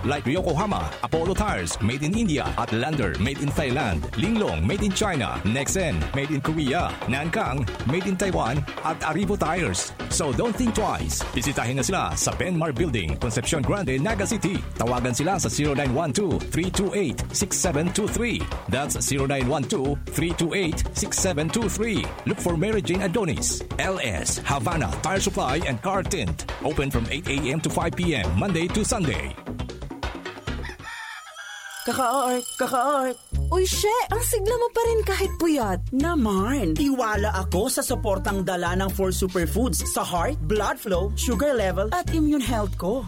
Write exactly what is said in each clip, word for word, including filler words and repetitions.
Like Yokohama, Apollo Tires, made in India, at Lander, made in Thailand, Linglong, made in China, Nexen, made in Korea, Nankang, made in Taiwan, at Aribo Tires. So don't think twice. Bisitahin na sila sa Benmar Building, Concepcion Grande, Naga City. Tawagan sila sa zero nine one two, three two eight, six seven two three. That's zero nine one two, three two eight, six seven two three. Look for Mary Jane Adonis, L S, Havana Tire Supply and Car Tint. Open from eight a.m. to five p.m., Monday to Sunday. Kaka-art, kaka-art. Uy, she! Ang sigla mo pa rin kahit puyat. Naman! Tiwala ako sa suportang dala ng four superfoods sa heart, blood flow, sugar level, at immune health ko.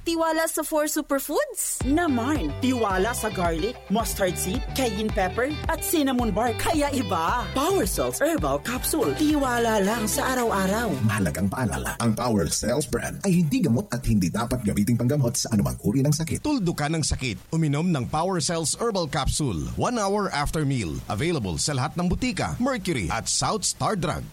Tiwala sa four superfoods? Naman! Tiwala sa garlic, mustard seed, cayenne pepper, at cinnamon bark. Kaya iba! Power Cells Herbal Capsule. Tiwala lang sa araw-araw. Mahalagang paalala, ang Power Cells brand ay hindi gamot at hindi dapat gamiting panggamot sa anumang uri ng sakit. Tuldukan ang sakit. Uminom ng Power Cells Herbal Capsule one hour after meal. Available sa lahat ng butika, Mercury at South Star Drug.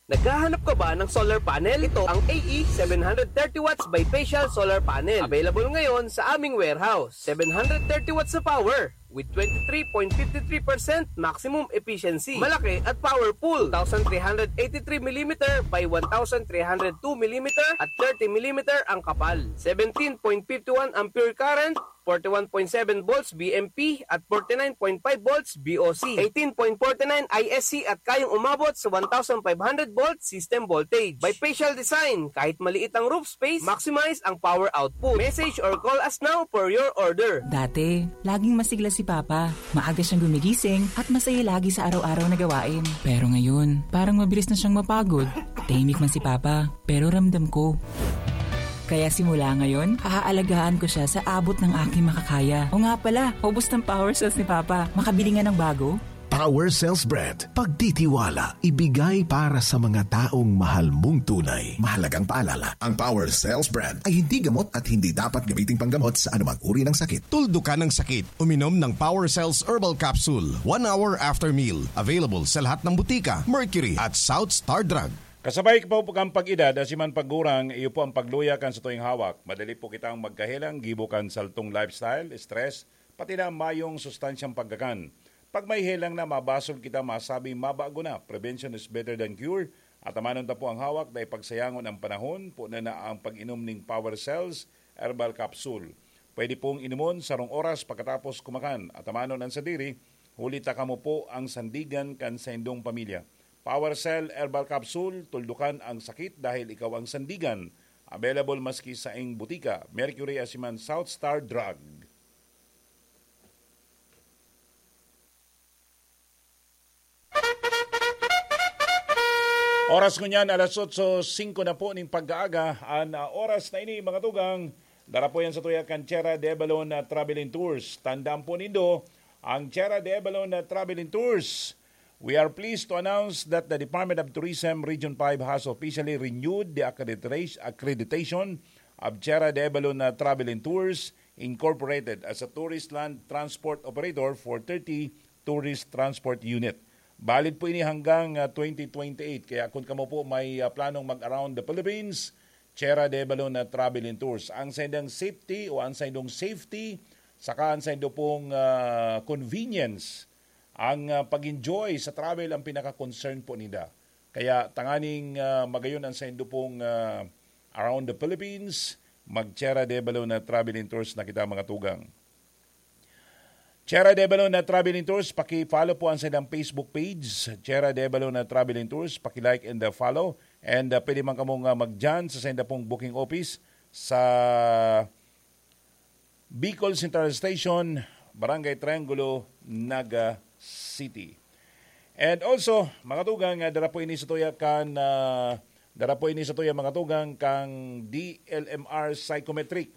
Naghahanap ka ba ng solar panel? Ito ang A E seven hundred thirty watts bifacial solar panel. Available ngayon sa aming warehouse. Seven hundred thirty watts na power with twenty-three point five three percent maximum efficiency. Malaki at powerful. Two thousand three hundred eighty-three millimeter by one thousand three hundred two millimeter at thirty millimeter ang kapal. Seventeen point fifty one ampere current, forty one point seven volts V M P at forty nine point five volts V O C, eighteen point forty nine I S C at kayang umabot sa one thousand five hundred volt system voltage. Bifacial design, kahit maliit ang roof space, maximize ang power output. Message or call us now for your order. Dati, laging masigla si Papa. Maaga siyang gumigising at masaya lagi sa araw-araw na gawain. Pero ngayon, parang mabilis na siyang mapagod. Tahimik man si Papa, pero ramdam ko. Kaya simula ngayon, haaalagaan ko siya sa abot ng aking makakaya. O nga pala, ubos ng power cells ni Papa. Makabili nga ng bago? Power Cells Brand. Pagtitiwala, ibigay para sa mga taong mahal mong tunay. Mahalagang paalala, ang Power Cells Brand ay hindi gamot at hindi dapat gamiting panggamot sa anumang uri ng sakit. Tuldukan ang sakit. Uminom ng Power Cells Herbal Capsule one hour after meal. Available sa lahat ng butika, Mercury at South Star Drug. Kasabay po kan pag-edad, asiman pagurang, iyo po ang pagluya kan satuyang hawak. Madali po kitang magkahelang gibo kan saltong lifestyle, stress, pati na mayong sustansyang pagkakan. Pag may helang na, mabasol kita masabing mabago na. Prevention is better than cure. Atamanon ta po ang hawak, dai pagsayangon ang panahon, po na na ang pag-inom ning Power Cells Herbal Capsule. Pwede pong inumon sarong oras pagkatapos kumakan. Atamanon ang sadiri, huli ta kamo po ang sandigan kan saindong pamilya. Power Cell Herbal Capsule, tuldukan ang sakit dahil ikaw ang sandigan. Available maski saing butika, Mercury asiman South Star Drug. Oras ngunyan, alas otso singko na po ning pag-aaga. An ah, oras na ini, mga tugang, dara po yan sa tuya kan Tierra de Balon na Travel and Tours. Tandaan po nindo, ang Tierra de Balon na Travel and Tours. We are pleased to announce that the Department of Tourism Region five has officially renewed the accredita- accreditation of Tierra de Balon na Travel and Tours Incorporated as a tourist land transport operator for thirty tourist transport unit. Valid po ini hanggang ah, twenty twenty-eight. Kaya kung kamo po may ah, planong mag-around the Philippines, Tierra de Balon na Travel and Tours. Ang saindang safety o ang saindong safety, saka ang saindo pong ah, convenience, ang ah, pag-enjoy sa travel ang pinaka-concern po nila. Kaya tanganing ah, magayon ang saindo pong ah, around the Philippines, mag-Tierra de Balon na Travel and Tours na kita, mga tugang. Tierra de Balon na Travel and Tours, paki-follow po ang saindang Facebook page, Tierra de Balon na Travel and Tours, paki-like and uh, follow. And uh, pwede man kamo nga mag-dyan sa sainda pong booking office sa Bicol Central Station, Barangay Triangulo, Naga City. And also, mga tugang, ah, dara po ini sa tuya kan ah, dara po ini sa tuya, mga tugang, kang D L M R Psychometric.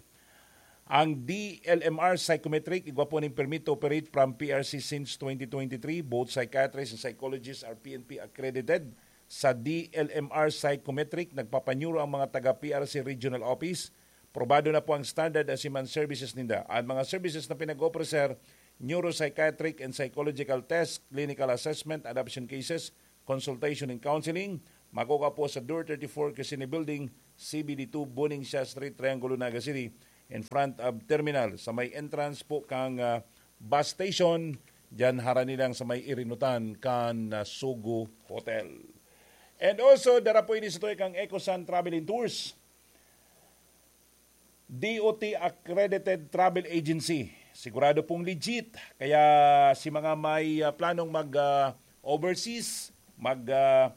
Ang D L M R Psychometric, igwa po ning permit to operate from P R C since twenty twenty-three. Both psychiatrists and psychologists are P N P accredited. Sa D L M R Psychometric, nagpapanyuro ang mga taga P R C Regional Office. Probado na po ang standard asiman services ninda. Ang mga services na pinag-offer, sir, neuropsychiatric and psychological test, clinical assessment, adoption cases, consultation and counseling. Makukuha po sa Door thirty-four, Crescene Building, C B D two, Buning Siya Street, Triangulo, Naga City. in front of terminal, sa may entrance po kang, ah, bus station, diyan harani lang sa may irinutan kan, ah, Sogo Hotel. And also, dara po ini sa tuya kang Ecosan Travel and Tours. D O T accredited travel agency. Sigurado pong legit. Kaya si mga may, ah, planong mag, ah, overseas, mag, ah,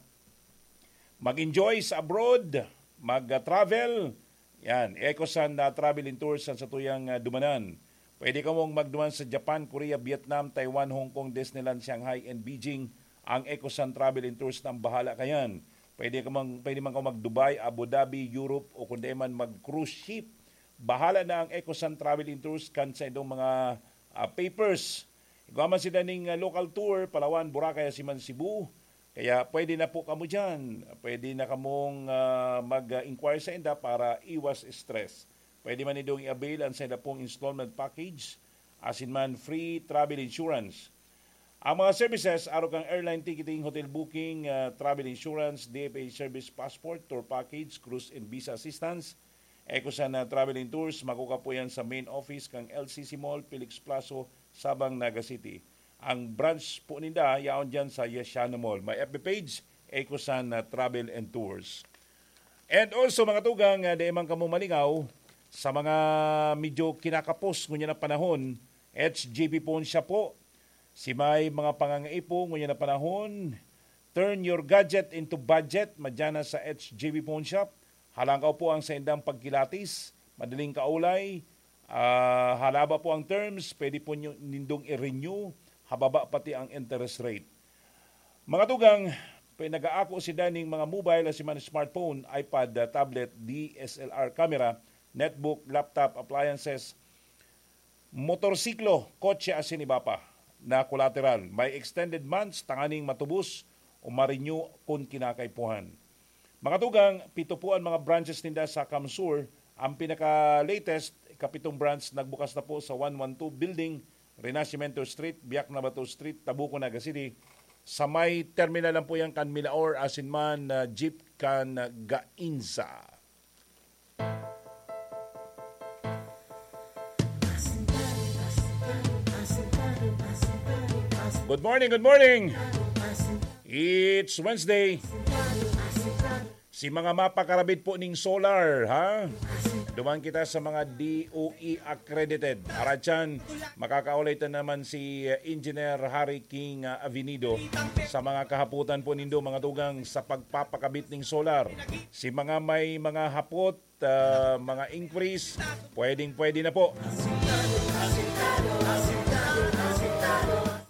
mag-enjoy sa abroad, mag-travel, yan, Ecosan na travel and tours ang satuyang, ah, dumanan. Pwede kamong magduman sa Japan, Korea, Vietnam, Taiwan, Hong Kong, Disneyland, Shanghai, and Beijing. Ang Ecosan Travel and Tours na ang bahala kayan. Pwede ka mang, pwede man ka mag-Dubai, Abu Dhabi, Europe, o kundi man mag-cruise ship. Bahala na ang Ecosan Travel and Tours kan sa indong mga, ah, papers. Igwa man sila ning, ah, local tour, Palawan, Boracay, asin man Cebu. Kaya pwede na po kamo dyan. Pwede na kamong, ah, mag-inquire sa inda para iwas stress. Pwede man nindong i-avail ang sa inda pong installment package, asin man free travel insurance. Ang mga services, arog kan airline ticketing, hotel booking, ah, travel insurance, D F A service passport, tour package, cruise and visa assistance, Ecosan na travel and tours, makukuha po yan sa main office kan L C C Mall, Felix Plazo, Sabang, Naga City. Ang branch po ninda, yaon dyan sa Yesiano Mall. May F B page, Ecosan na Travel and Tours. And also, mga tugang, ah, di man kamo malingaw sa mga medyo kinakapos ngunyan na panahon, H J P Phone Shop po. Si may mga pangangaipo ngunyan na panahon, turn your gadget into budget, madyan na sa H J P Phone Shop. Halangkaw po ang saindang pagkilatis, madaling kaulay, ah, halaba po ang terms, pwede po nyo, nindong i-renew, hababa pati ang interest rate. Mga tugang, pinag-aako sila ning mga mobile asin man smartphone, iPad, ah, tablet, D S L R camera, netbook, laptop, appliances, motorsiklo, kotse asin iba pa na collateral. May extended months tanganing matubos o ma-renew kun kinakaipuhan. Mga tugang, pito po ang mga branches ninda sa CamSur. Ang pinaka-latest, ikapitong branch, nagbukas na po sa one one two Building, Renacimiento Street, Biak na Bato Street, Tabuco, Naga City. Sa may terminal lang po yan kan Milaor, asin man, ah, jeep kan, ah, Gainza. Good morning, good morning. It's Wednesday. Si mga mapakarabit po ning solar, ha? Duman kita sa mga D O E accredited. Aratyan, makakaulay ta naman si, eh, Engineer Harry King, ah, Avenido sa mga kahapotan po nindo, mga tugang, sa pagpapakabit ning solar. Si mga may mga hapot, ah, mga inquiries, pwedeng-pwede na po.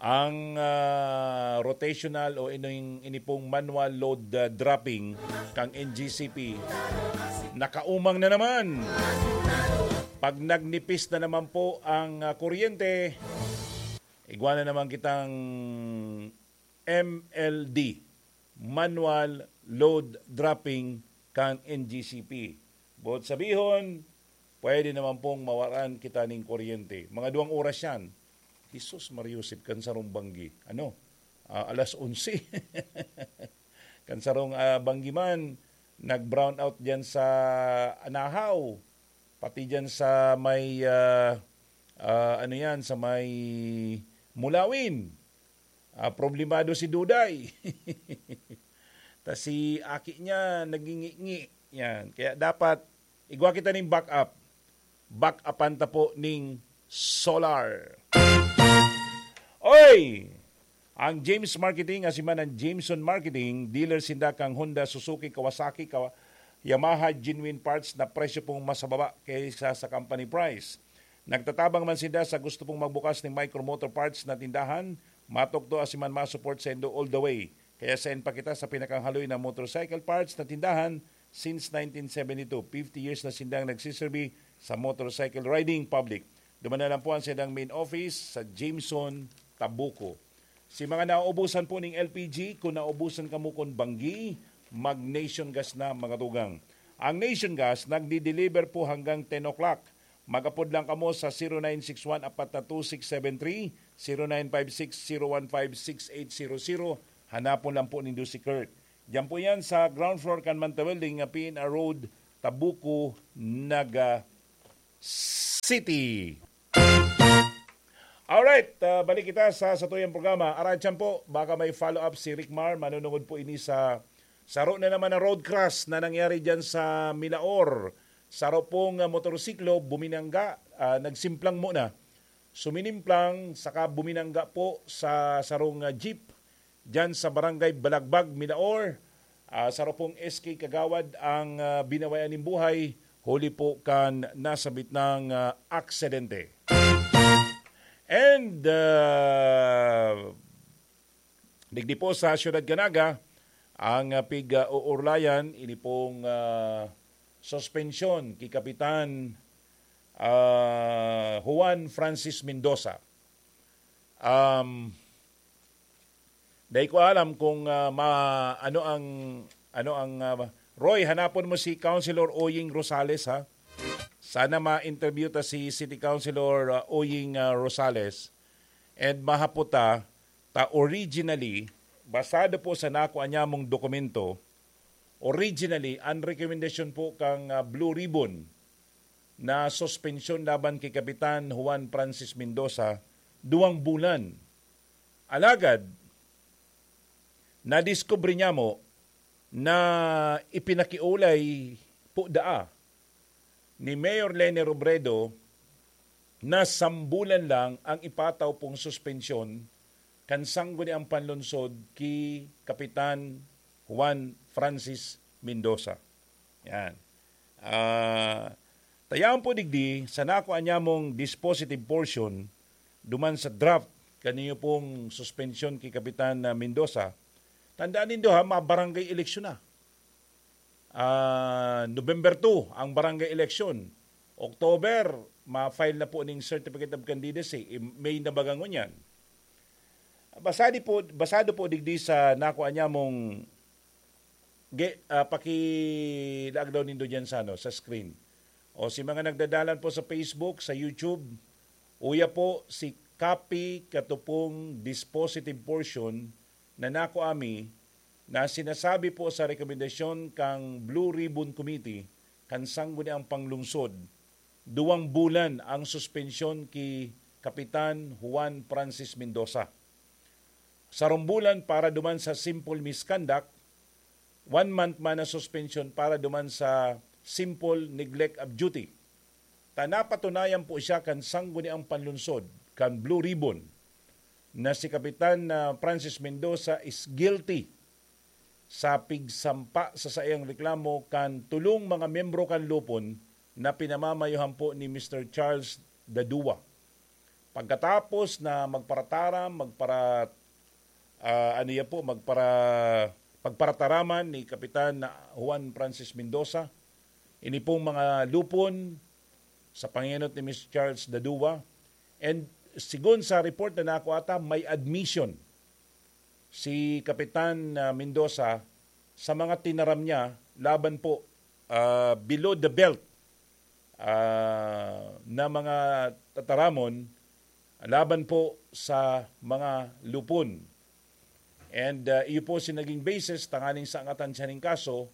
Ang, ah, rotational o ining, ini pong manual load, ah, dropping kang N G C P, nakaumang na naman. Pag nagnipis na naman po ang, ah, kuryente, igwa na naman kitang M L D, manual load dropping kan N G C P. Boot sabihon, pwede naman pong mawaran kita ning kuryente. Mga duwang oras yan. Jesus Mariosep, kan sarong banggi. Ano? Ah, alas onse. Kan sarong, ah, banggi man, nag-brown out dyan sa Anahaw. Pati dyan sa may, ah, ah, ano yan, sa may Mulawin. Ah, problemado si Duday. Ta si aki niya, nagingi-ngi. Yan. Kaya dapat, igwa kita ning backup. Backupan ta po ning solar. Oy! Ang James Marketing, asin man ang Jameson Marketing, dealer sinda kang Honda, Suzuki, Kawasaki, Kawa-, Yamaha, genuine parts na presyo pong mas mababa kaysa sa company price. Nagtatabang man sinda sa gusto pong magbukas ning micro motor parts na tindahan, matukdo asin man ma-support saindo all the way. Kaya send pa kita sa pinakahaloy na motorcycle parts na tindahan since nineteen seventy-two. Fifty years na sindang nagsiserbi sa motorcycle riding public. Duman na lang po ang sindang main office sa Jameson, Tabuco. Si mga nauubusan po ning L P G, kung nauubusan kamo kun banggi, mag-Nation Gas na, mga tugang. Ang Nation Gas nagdi-deliver po hanggang ten o'clock. Mag-apod lang kamo sa zero nine six one apat na two six seven three, zero nine five six zero one five six eight zero zero. Hanapon lang po nindo si Kurt. Diyan po yan sa ground floor kan Manta Building, nga P N R Road, Tabuco, Naga City. Alright, ah, balik kita sa satuyang programa. Aratyan po, baka may follow-up si Rick Mar. Manunungod po ini sa saro na naman na road crash na nangyari dyan sa Milaor. Saro pong, ah, motorsiklo, buminangga, ah, nagsimplang muna. Suminimplang, saka buminangga po sa sarong, ah, jeep dyan sa Barangay Balagbag, Milaor. Ah, saro pong S K kagawad ang, ah, binawayan nin buhay, huli po kan nasabit nang, ah, aksidente. And, ah, digdi po sa Siyudad Canaga, ang, ah, pig-uurlayan, ini pong, ah, suspensyon ki Kapitan, ah, Juan Francis Mendoza. Um, dai ko alam kung, ah, ma-, ano ang, ano ang, ah, Roy, hanapon mo si Councilor Oying Rosales, ha? Sana ma-interview ta si City Councilor, ah, Oying, ah, Rosales. And mahapot ta, ta originally, basado po sa nako anyamong dokumento, originally, ang rekomendasyon po kang, ah, Blue Ribbon na suspensyon laban kay Kapitan Juan Francis Mendoza, duwang bulan. Alagad, nadiskubre niya mo na ipinakiulay po daa ni Mayor Leni Robredo na sambulan lang ang ipataw pong suspensyon kan sangguniang panlunsod ki Kapitan Juan Francis Mendoza. Yan. Ah, tayaan po digdi, sa nako anyamong dispositive portion, duman sa draft, kaniyo pong suspensyon ki Kapitan, ah, Mendoza, tandaan nindo ha, mabarangay eleksyon na. Ah, November two ang barangay election. October, ma-file na po ning certificate of candidacy. I-, May na baga ngunyan. Basado po, basado po digdi sa nako anyamong ge-, ah, pakilaag daw nindo dyan sa, ano, sa screen. O si mga nagdadalan po sa Facebook, sa YouTube, uya po si Copy Katupong Dispositive Portion na nako ami na sinasabi po sa rekomendasyon kang Blue Ribbon Committee kan sangguniang panglungsod, duwang bulan ang suspensyon ki Kapitan Juan Francis Mendoza. Sarong bulan para duman sa simple misconduct, one month man na suspension para duman sa simple neglect of duty. Ta napatunayan po siya kan sangguniang panlunsod kan Blue Ribbon na si Kapitan, ah, Francis Mendoza is guilty sa pigsampa sa saiyang reklamo kan tulong mga miyembro kan lupon na pinamamayohan po ni Mister Charles Dadua. Pagkatapos na magparataram, magpara-, ah, ano yan po, magpara-, pagparataraman ni Kapitan Juan Francis Mendoza, ini pong mga lupon sa pangenot ni Mister Charles Dadua. And sigon sa report na nakuha ta, may admission si Kapitan, ah, Mendoza sa mga tinaram niya laban po, ah, below the belt, ah, na mga tataramon laban po sa mga lupon. And, ah, iyo po si naging basis tanganing sangatan siya ning kaso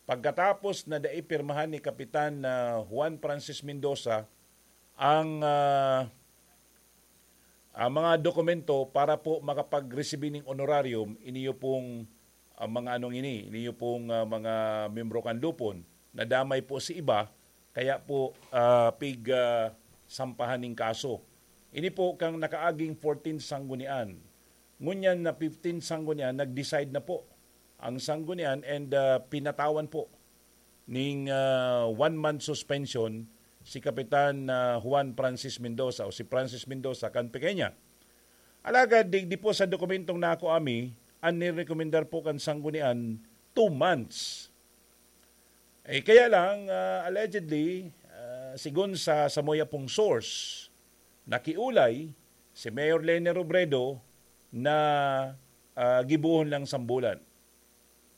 pagkatapos na dai pirmahan ni Kapitan, ah, Juan Francis Mendoza ang, ah, ang mga dokumento para po makapag-resibi ning honorarium, iniyo pong, ah, mga anong ini, iniyo pong, ah, mga miyembro kan lupon, nadamay po si iba, kaya po, ah, pig, ah, sampahan ning kaso. Ini po kang nakaaging fourteen sanggunian. Ngunyan na fifteen sanggunian, nag-decide na po ang sanggunian and, ah, pinatawan po ning, ah, one month suspension si Kapitan, ah, Juan Francis Mendoza o si Francis Mendoza kan Pequeña. Alagad digdi po sa dokumentong nako ami, an nirekomendar po kan sanggunian, two months. Eh, kaya lang, ah, allegedly, ah, sigon sa samuya pong source, nakiulay si Mayor Leni Robredo na, ah, gibohon lang sambulan.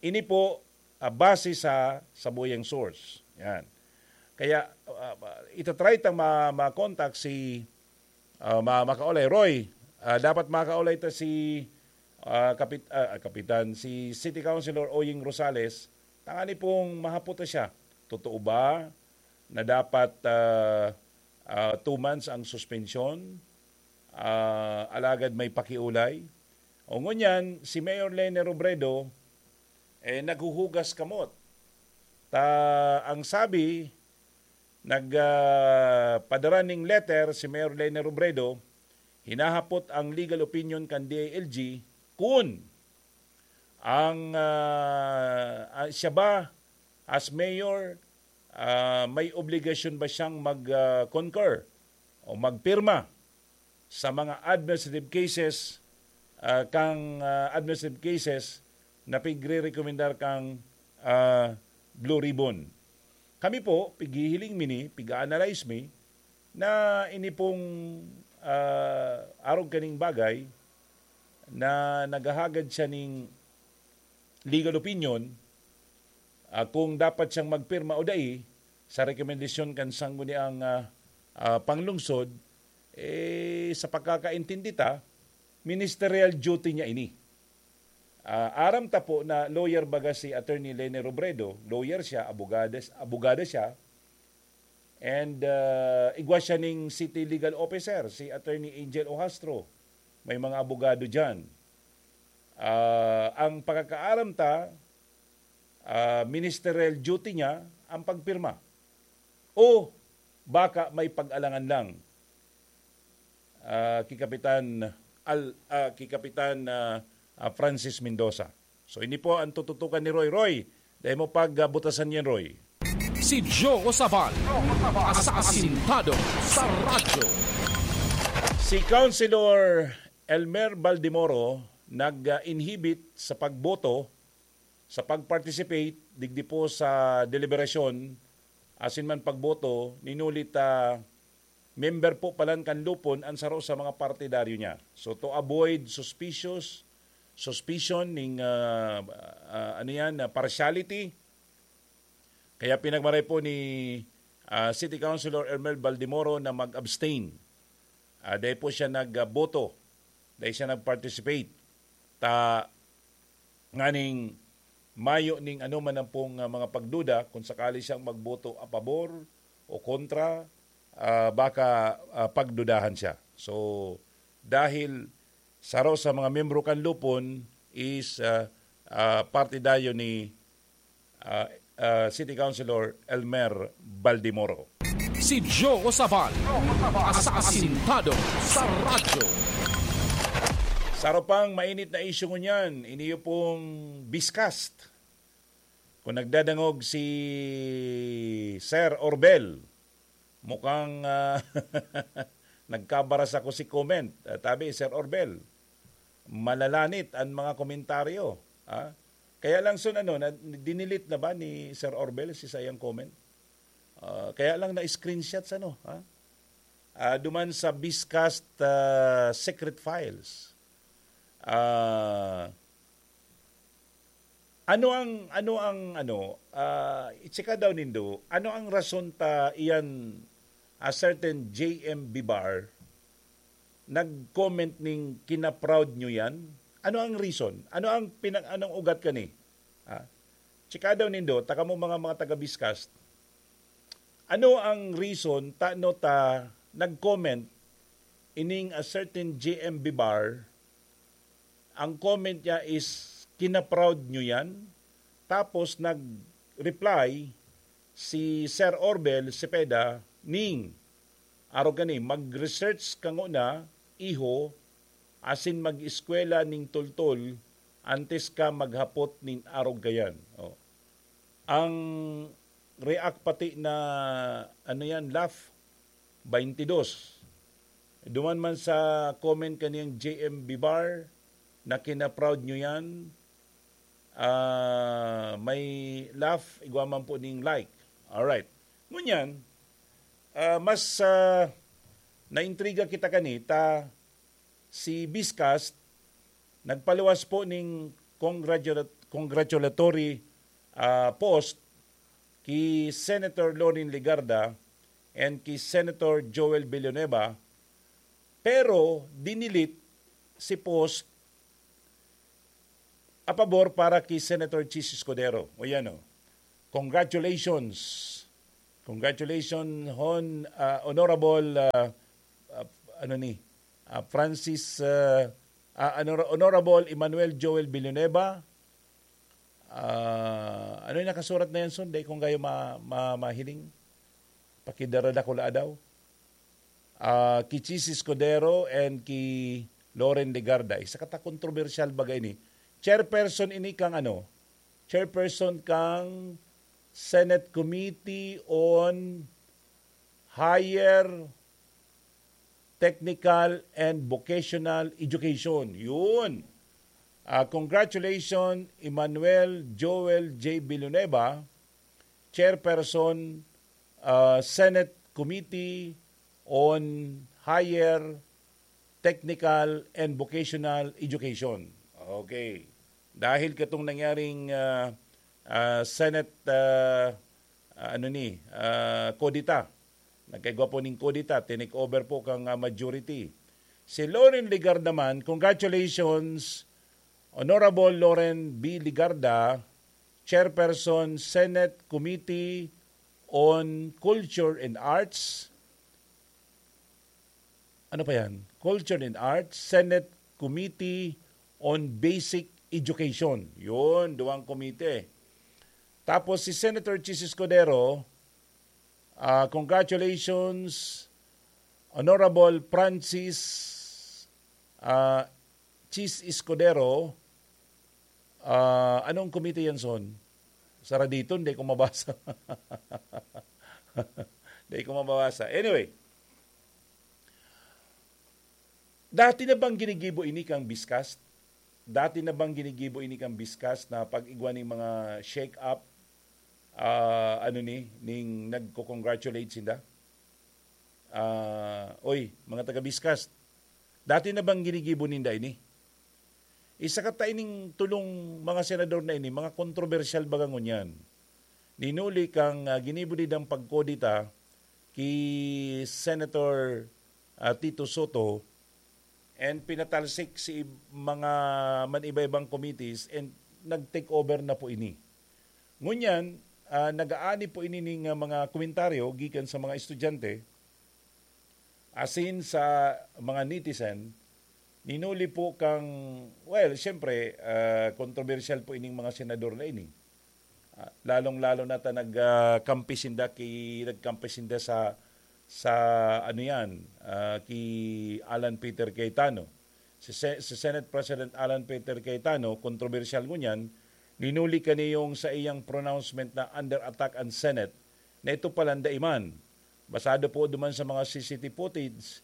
Ini po, ah, base sa samuyang source. Yan. Kaya, ah, itatry tang ma-, ma-contact si, ah, ma-, makaulay. Roy, ah, dapat makaulay ta si, ah, kapit-, ah, kapitan, si City Councilor Oying Rosales, tangani pong mahapot ta siya. Totoo ba na dapat, ah, Ah, two months ang suspensyon, ah, alagad may pakiulay. O ngunyan, si Mayor Leni Robredo, eh, naghuhugas kamot. Ta, ang sabi, nag, ah, padara ning letter si Mayor Leni Robredo, hinahapot ang legal opinion kan D I L G kun ang, ah, ah, siya ba as mayor, ah, may obligasyon ba siyang mag, ah, concur o magpirma sa mga administrative cases, ah, kang, ah, administrative cases na pigre-rekomendar kang, ah, Blue Ribbon. Kami po, pighihiling mi ni, pig-a-analyze mi, na ini pong, ah, arog kaning bagay na naghahagad siya ning legal opinion, ah, kung dapat siyang magpirma o dai sa rekomendasyon kan sangguniang, ah, ah, panglungsod, eh, sa pagkakaintindi ta, ministerial duty niya ini. Ah, aram ta po na lawyer baga si Attorney Leni Robredo, lawyer siya, abogado, abogado siya, and, ah, igwa siya ning city legal officer, si Attorney Angel Ohastro. May mga abogado diyan. Ah, ang pagkakaaram ta, ah, ministerial duty niya ang pagpirma. O baka may pag-alangan lang, ah, ki Kapitan Al-, ah, ki Kapitan, ah, ah, Francis Mendoza. So, ini po ang tututukan ni Roy. Roy, dai mo pag, ah, butasan yan, Roy. Si Joe Sabal, asasintado sa radyo. Si Councilor Elmer Baldemoro nag-inhibit sa pagboto, sa pag-participate digdi po sa deliberasyon, asin man pagboto, ni huli ta member po palan kan Lupon an saro sa mga partidaryo niya. So, to avoid suspicious, suspicion ning, ah, ah, ano yan, ah, partiality, kaya pinagmaray po ni, ah, City Councilor Elmer Baldemoro na mag-abstain. Ah, dai po siya nagboto, dai siya nag-participate. Ta, nganing mayo ning ano man ang pong, ah, mga pagduda, kung sakali siyang magboto a pabor o kontra, ah, baka, ah, pagdudahan siya. So, dahil saro sa mga miyembro kan Lupon is, ah, ah, partidaryo ni, ah, ah, City Councilor Elmer Baldemoro. Si Joe Sabal, asasintado sa radyo. Saro pang mainit na isyu ngunyan, iniyo pong Biscast. Kung nagdadangog si Sir Orbel, mukhang, ah, nagkabaras ako si comment. Ah, tabi, Sir Orbel, malalanit ang mga komentaryo, ah. Kaya lang, Sun, ano, na, dinilit na ba ni Sir Orbel si sayang comment? Ah, kaya lang na-screenshot sa, ano, ha? Ah, duman sa Biscast, ah, secret files. Ah, ano ang, ano ang, ano, ah, i-checka daw nindo, ano ang rason ta iyan, a certain J M Bibar nag-comment ning kina-proud nyo yan? Ano ang reason? Ano ang pinag-, anong ugat kani? Ah, checka daw nindo, ta kamo mga, mga taga-Biscast. Ano ang reason tano ta nag-comment ining a certain J M Bibar? Ang comment niya is, "Kina-proud nyo yan?" Tapos nag-reply si Sir Orbel Cepeda ning, arog kani, "Mag-research ka ngona, iho, asin mag-eskwela ning toltol antes ka maghapot nin arog kayan." Oh. Ang react pati na, ano yan, laugh, twenty-dos. Duman man sa comment kaniyang J M Bibar na kina-proud nyo yan, ah, may laugh, igwa man po ning like. Alright. Ngunyan, ah, mas, ah, naintriga kita kani ta si Biscast nagpaluwas po ning congratula-, congratulatory, ah, post ki Senator Loren Legarda and ki Senator Joel Villanueva, pero dinilit si post a pabor para ki Senator Chiz Escudero. O yan, oh. Congratulations, Congratulations, Hon, ah, Honorable, ah, ah, ano ni, ah, Francis, ah, ah, Honor-, Honorable Emmanuel Joel Villanueva. Ah, ano yung nakasurat na yan, son? Dai kong kayo ma-, ma-, mahiling. Pakidarada ko la daw. Ah, ki Chiz Escudero and ki Loren Legarda. Isa ka ta kontrobersyal baga ini. Chairperson ini kang ano? Chairperson kang Senate Committee on Higher Technical and Vocational Education. Yun. Ah, congratulations, Emmanuel Joel J Villanueva, Chairperson, ah, Senate Committee on Higher Technical and Vocational Education. Okay. Dahil katong nangyaring, ah, ah, Senate, ah, ah, ano ni, ah, kudeta. Nagkaigwa po ning kudeta, tinake over po kang, ah, majority. Si Loren Legarda man, congratulations, Honorable Loren B Legarda, Chairperson, Senate Committee on Culture and Arts. Ano pa yan? Culture and Arts, Senate Committee on Basic Education. Yun, duwang komite. Tapos si Senator Chiz Escudero, ah, congratulations, Honorable Francis, ah, Chiz Escudero. Ah, anong komite yan, son? Saraditon, di ko mabasa. Di ko mabasa. Anyway, dati na bang ginigibo ini kang Biscast? Dati na bang ginigibo ini kang Biscast na pag-igwa ning mga shake-up, ah, ano ni, ning nagko-congratulate sinda? Ah, oy, mga taga-Biscast, dati na bang ginigibo ninda ini? Isa ka ta ining tulong mga senador na ini, mga kontrobersyal baga ngunyan. Ninuli kang, ah, ginibo nindang pagkudeta ki Senator, ah, Tito Soto and pinatalsik si ib-, mga man-iba-ibang committees and nag-take over na po ini. Ngunyan, ah, nag-aani po ini ning, ah, mga komentaryo gikan sa mga estudyante, asin sa mga netizen, ninuli po kang, well, siyempre, ah, kontrobersyal po ining mga senador na ini. Ah, lalong-lalo na ta nag, ah, kampi sinda ki-, nagkampi sinda sa, sa ano yan, ah, ki Alan Peter Cayetano. Si Se-, si Senate President Alan Peter Cayetano, kontrobersyal ngunyan, ninuli kaniyong sa iyang pronouncement na under attack ang Senate, na ito palan dai man. Basado po duman sa mga C C T V footage,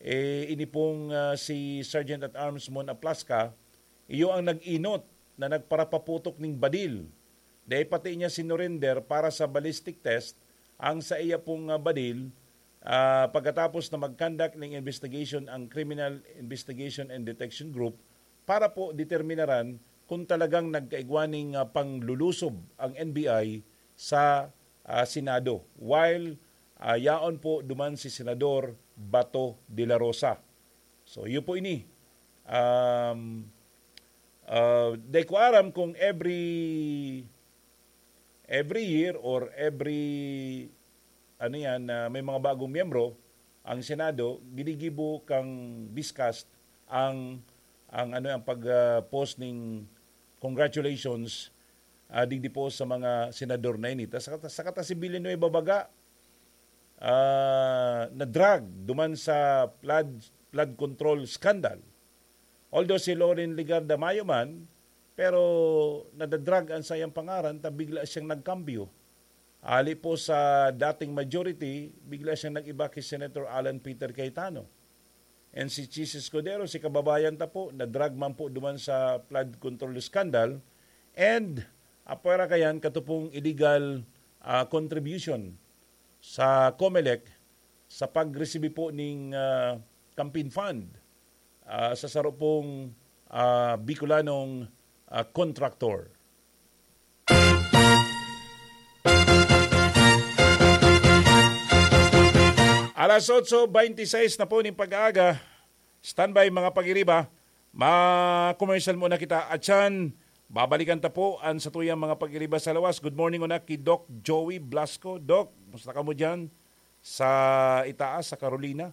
eh, ini pong, ah, si Sergeant at Arms Mon Aplasca, iyo ang nag-inot na nagparapaputok ning badil. Dai pati niya sinurrender para sa ballistic test ang sa iya pong, ah, badil, ah, pagkatapos na mag-conduct ning investigation ang Criminal Investigation and Detection Group para po determinaran kung talagang nagkaigwa ning, ah, panglulusob ang N B I sa, ah, Senado, while, ah, yaon po duman si Senador Bato de la Rosa. So, iyo po ini. Um, ah, di ko aram kung every, every year or every, ano yan, na may mga bagong miyembro, ang Senado, ginigibo kang Biscast ang, ang, ano, ang pag, ah, post ning congratulations, ah, digdi po sa mga senador na ini. Tas saka, saka ta si Villanueva baga, ah, na-drag duman sa flood, flood control scandal. Although si Loren Legarda mayo man, pero nadadrag ang sayang pangaran ta bigla siyang nagkambyo. Ali po sa dating majority, bigla siyang nag-iba kay Senator Alan Peter Cayetano. And si Chiz Escudero, si kababayan ta po, na-drag man po duman sa flood control scandal. And, apwera kayan, katupong illegal, ah, contribution sa Comelec sa pag-receive po ning, ah, campaign fund, ah, sa saro pong, ah, Bicolanong, ah, contractor. Alas otso beintiseis na po ning pag-aaga. Standby, mga pag-iriba. Ma-commercial muna kita. Atyan, Babalikan ta po an satuyang mga pag-iriba sa lawas. Good morning una ki Doc Joey Blasco. Doc, kumusta kamo diyan sa itaas, sa Carolina?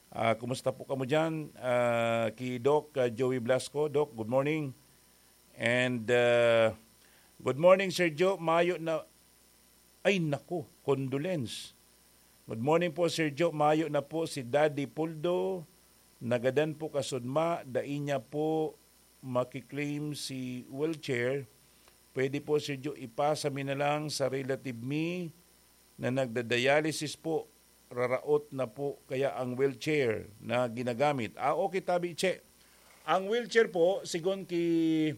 Ah, kumusta po kamo diyan? Ah, ki Doc, ah, Joey Blasco. Doc, good morning. And, ah, good morning, Sir Joe. Mayo na, ay, naku, condolence. Good morning po, Sir Joe. Mayo na po si Daddy Puldo. Nagadan po kasudma. Dai niya po makiklaim si wheelchair. Pwede po, Sir Joe, ipasa mi na lang sa relative mi na nagda-dialysis po. Raraot na po kaya ang wheelchair na ginagamit. Ah, okay, tabi, Che. Ang wheelchair po, sigon ki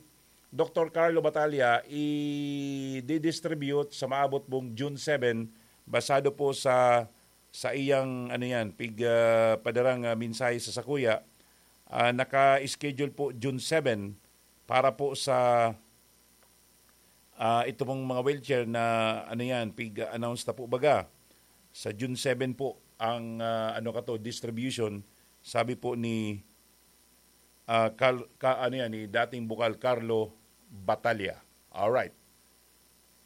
Doktor Carlo Batalla, i-distribute sa maabot pong June seven, basado po sa, sa iyang, ano yan, pig, ah, padarang, ah, mensahe sa sakuya. Ah, naka-schedule po June seven para po sa, ah, ito pong mga wheelchair na, ano yan, pig-announce na po baga. Sa June seven po ang, ah, ano ka to, distribution, sabi po ni, ah, Cal-, ka, ano yan, ni dating bukal Carlo Batalla. Alright.